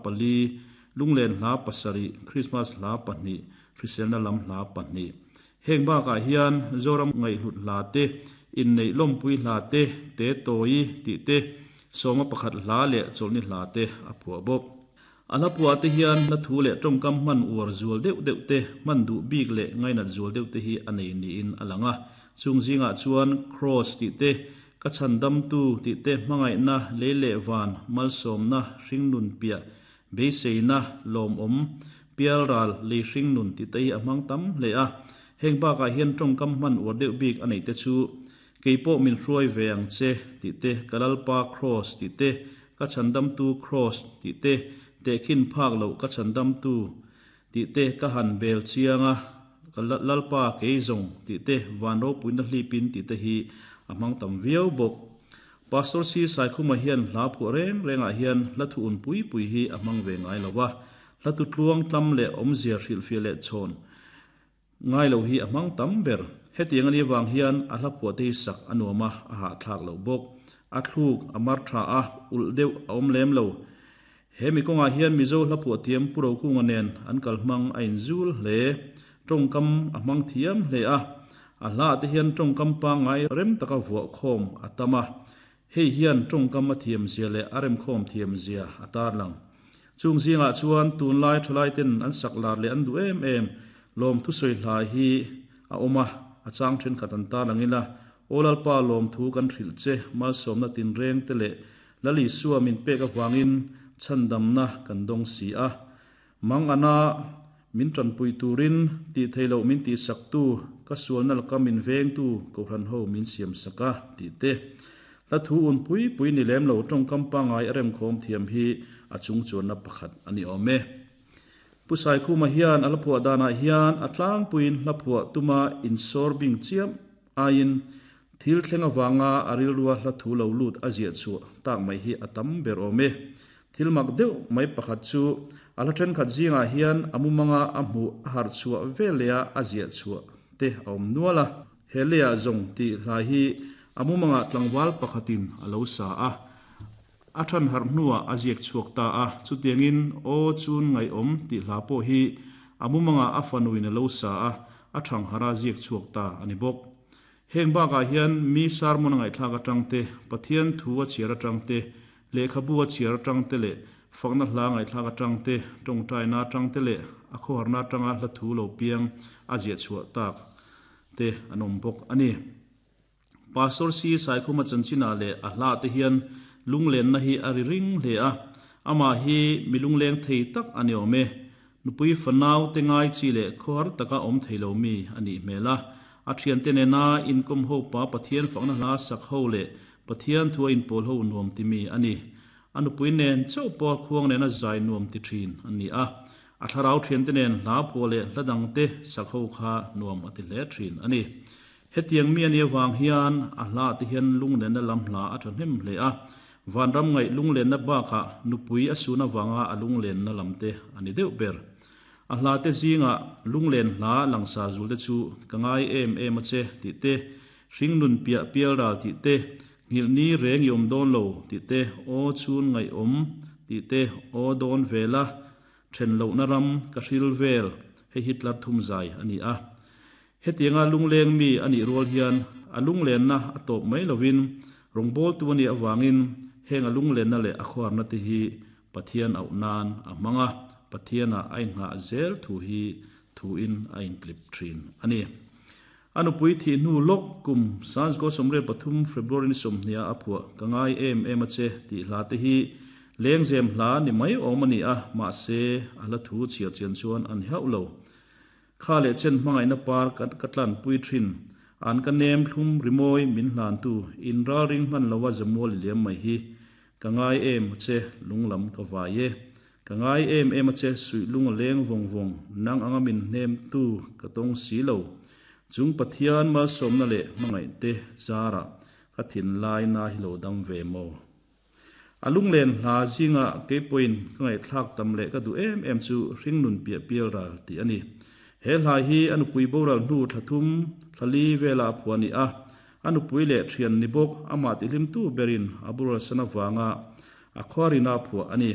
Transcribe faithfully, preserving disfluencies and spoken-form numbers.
pali lunglen hla pasarih Christmas hla pahnih hriselna lam hla pahnih heng bakah hian Zoram ngaihhlut hla te innei lawmpui hla te te tawi tih te sawma pakhat hla leh chawlhni hla te a phuah bawk. A hla phuah te hian hla thu leh tawngkam hman uar zual deuh deuh te hman duh bik leh ngainat zual deuh te hi a nei niin a lang a. Chung zingah chuan cross tih te ka chhandam tu tih te hmangaihna lei leh van malsawmna hringnun piah beiseina lawmawm pialral lei hringnun tih te hi a hmang tam hle a. Heng bakah hian tawngkam hman uar deuh bik a neih te chu keipawh min hruai ve ang che tih te ka lalpa cross tih te ka chhandam tu cross tih te tehkhin phak lo ka chhandam tu tih te ka han bel chianga ka lalpa keizawng tih te van ropuina hlipin tih te hi a hmang tam viau bawk. Pastor C Saikhuma hian hla phuah reng rengah hian hla thu un pui pui hi a hmang ve ngai lova. Hla tu tluang tlam leh awmzia hrilhfiah leh chhawn ngai lo hi a hmang tam ber. Hetiang ani wang hian a hla phuah te hi sak a nuam a, a hahthlak lo bawk. A thluk a mar tha a, ulh deuh a awm lem lo. He mi kawngah hian Mizo hla phuah thiam Pu Rokunga nen an kal hmang a inzul hle. Tawngkam a hmang thiam hle a. A hla te hian tawngkam pangngai rem taka vuah khawm a tam a. Hei hian tawngkam a thiam zia leh a rem khawm thiam zia a tar lang. Chung zingah chuan tunlai thalai ten an sak lar leh an duh em em lawm thusawi hla hi a awm a. A chang then khat an tar langin a. Aw lalpa lawm thu kan hrilh che malsawmna tin reng te leh lali suwa min pek awangin chhandamna kan dawng si a. Mang ana min tanpui turin ti theilo min ti sak tu ka sualna laka min veng tu kohhran ho min siam saka ti te. Hla thu un pui pui ni lem lo tawngkam pangngai a rem khawm thiam hi a chung chuanna pakhat ani awm e. Pu Saikhuma hian a hla phuah danah hian a tlangpuiin hla phuah tuma insawr bing chiam aiin thil thleng awanga a rilrua hla thu lo lut a ziah chhuah tak mai hi a tam ber awm e. Thil mak deuh mai pakhat chu a hla thenkhat zingah hian a mumanga a hmuh a harh chhuah veleh a ziah chhuah te a awm nual a. He leiah zawng tih hla hi a mumanga tlangval pakhatin a lo sa a. A than harh hnuah a ziak chhuak ta a. Chutiangin aw chun ngaihawm tih hla pawh hi a mumanga a fanuin a lo sa a. A thang hara ziak chhuak ta ani bawk. Heng bakah hian mi sermon ngaihthlak atang te Pathian thu a chhiar atang te lehkhabu a chhiar atang te leh fakna hla ngaihthlak atang te tawngtaina atang te leh a khawharna atanga hla thu lo piang a ziah chhuah tak te an awm bawk ani. Pastor C Saikhuma chanchina leh a hla te hian lunglenna hi a ri ring hle a. Ama hi milungleng thei tak ani awm e. Nupui fanau te ngai chi leh khawhar taka awm theilo mi ani hmel a. A thian te nena inkom ho pa Pathian fakna hla sak ho leh Pathian thu a inpawl ho nuam ti mi ani. A nupui nen chauh pawh khuang nena zai nuam ti thin ani a. A thlarau thian te nen hla phuah leh hla dang te sak ho kha nuam a ti hle thin ani. Hetiang mi ani awang hian a hla te hian lunglenna lam hla a thahnem hle a. Vanram ngaih lunglenna bakah nupui a suna wanga a lunglenna lam te ani deuh ber. A hla te zinga lunglen hla langsar zul te chu ka ngai em em a che tih te hringnun piah pial ral tih te nghilh ni reng i awm dawn lo tih te aw chun ngaihawm tih te aw dawn vela then lohna ram ka hril vel hei hi tlar thum zai ani a. Hetianga lungleng mi ani rual hian a lunglenna a tawp mai lovin rawngbâwl tu ani awangin heng a lunglenna leh a khawharna te hi Pathian auh nan a hmang a. Pathian a a inngah zel thu hi thu in a intlip thin ani. A nupui thih hnu lawk kum sansko sawmriat pathum February ni sawmhnih a phuah ka ngai em em a che tih hla te hi lengzem hla ni mai awm ani a. Mahse a hla thu chhiar chian chuan an hauh lo. Kha leh chen hmangaihna par ka tlan pui thin an ka nem thlum rimawi min hlan tu in ral ring hman lowa zamual liam mai hi ka ngai em a che lunglam ka vai e. Ka ngai em em a che suih lung a leng vawng vawng nang anga min hnem tu ka tawng si lo. Chung Pathian malsawmna leh hmangaih te zara ka thin lai na hi lo dam ve maw. A lunglen hla zinga keipawhin ka ngaihthlak tam leh ka duh em em chu hringnun piah pial ral tih ani. He hla hi a nupui boral hnu thlathum thlali vela a phuah ani a. A nupui leh thian ni bawk amah tihlim tu berin a boral sana wanga a khawharina a phuah ani.